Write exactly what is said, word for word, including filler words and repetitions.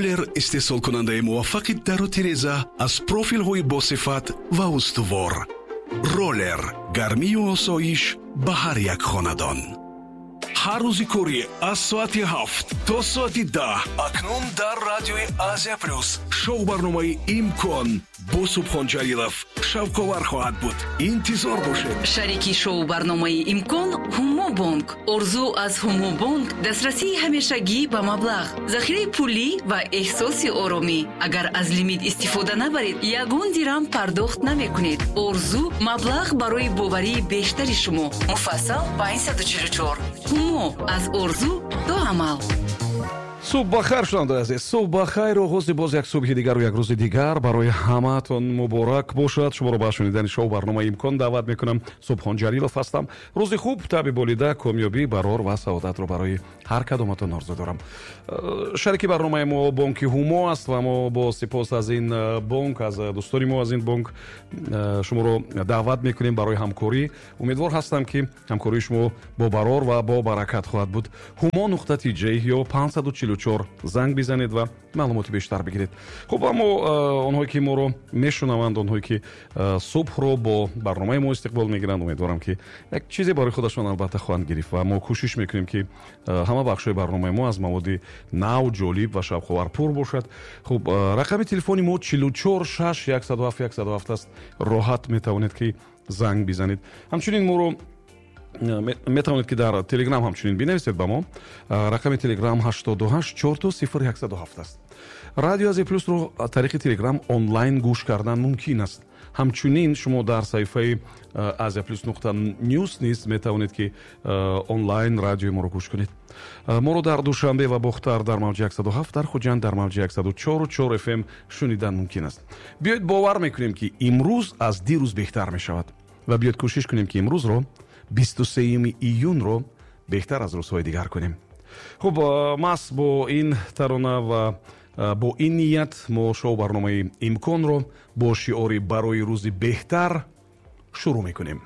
Роллер истеҳсолкунандаи муваффақи дару тиреза аз профилҳои босифат ва устувор. Роллер гармию осоиш ба ҳар як хонадон. Ҳар рӯзи корӣ аз соати ҳафт то соати даҳ акнун дар радиои Азия Плюс шоу барномаи «Имкон» бо Субҳон Ҷалилов шавқовар хоҳад буд. Интизор бошед. Шарики шоу барномаи «Имкон» Ҳумобонк. Орзу аз Ҳумобонк дастрасии ҳамешагӣ ба маблағ, захираи пулӣ ва эҳсоси оромӣ. Агар аз лимит истифода набаред, ягон дирам пардохт намекунед. Орзу маблағ барои боварии бештари шумо. Муфассал панҷсаду чилу чор. Ҳумо аз орзу то амал. Субҳ бахайр, шунавандаи азиз, субҳ бахайр. Оғози боз як субҳи дигару як рӯзи дигар барои ҳамаатон муборак бошад. Шуморо ба шунидани шоу барномаи «Имкон» даъват мекунам. Субҳон Ҷалилов ҳастам. Рӯзи хуб, табъи болида, комёбӣ, барор ва саодатро барои ҳар кадоматон орзу дорам. Э, шарики барномаи мо бонки Ҳумо аст ва мо бо сипос аз ин э, бонк, аз дӯстони мо аз ин бонк, э, шуморо даъват мекунем барои ҳамкорӣ. Умедвор ҳастам, ки ҳамкории шумо бо барор ва бо баракат хоҳад буд. Ҳумо нуқта тиҷ ё панҷсаду чилу чор занг бизанед ва маълумоти бештар бигиред. Хуб, аммо э, онҳое ки моро мешунаванд, онҳое ки э, субҳро бо барномаи мо истиқбол мегиранд, умедворам, ки як чизе барои худашон албатта хоҳанд гирифт ва мо кӯшиш мекунем, ки э, ҳама бахшҳои барномаи мо аз маводи нав, ҷолиб ва шавқовар пур бошад. Хуб, рақами телефони мо чилу чор шаш яксаду ҳафт яксаду ҳафт аст. Роҳат метавонед, ки занг бизанед. Ҳамчунин моро метавонед, ки дар Телеграм ҳамчунин бинависед ба мо. Рақами Телеграм ҳаштоду ҳашт чорту сифр яксаду ҳафт аст. Радио Азия Плюсро тариқи Телеграм онлайн гӯш кардан мумкин аст. Ҳамчунин шумо дар саҳифаи Азия Плюс нуқта ньюс низ метавонед, ки онлайн радиои моро гӯш кунед. Моро дар Душанбе ва Бохтар дар мавҷи яксаду ҳафт, дар Хуҷанд дар мавҷи яксаду чору чор F M шунидан мумкин аст. Биёед, бовар мекунем, ки имрӯз аз дирӯз беҳтар мешавад, ва биёед, кӯшиш кунем, ки имрӯзро, бисту сеюми июнро, беҳтар аз рӯзҳои дигар кунем. Хуб, маҳз бо ин тарона ва бо ин ният мо шоу барномаи «Имконро» бо шиори «Барои рӯзи беҳтар» шурӯъ мекунем.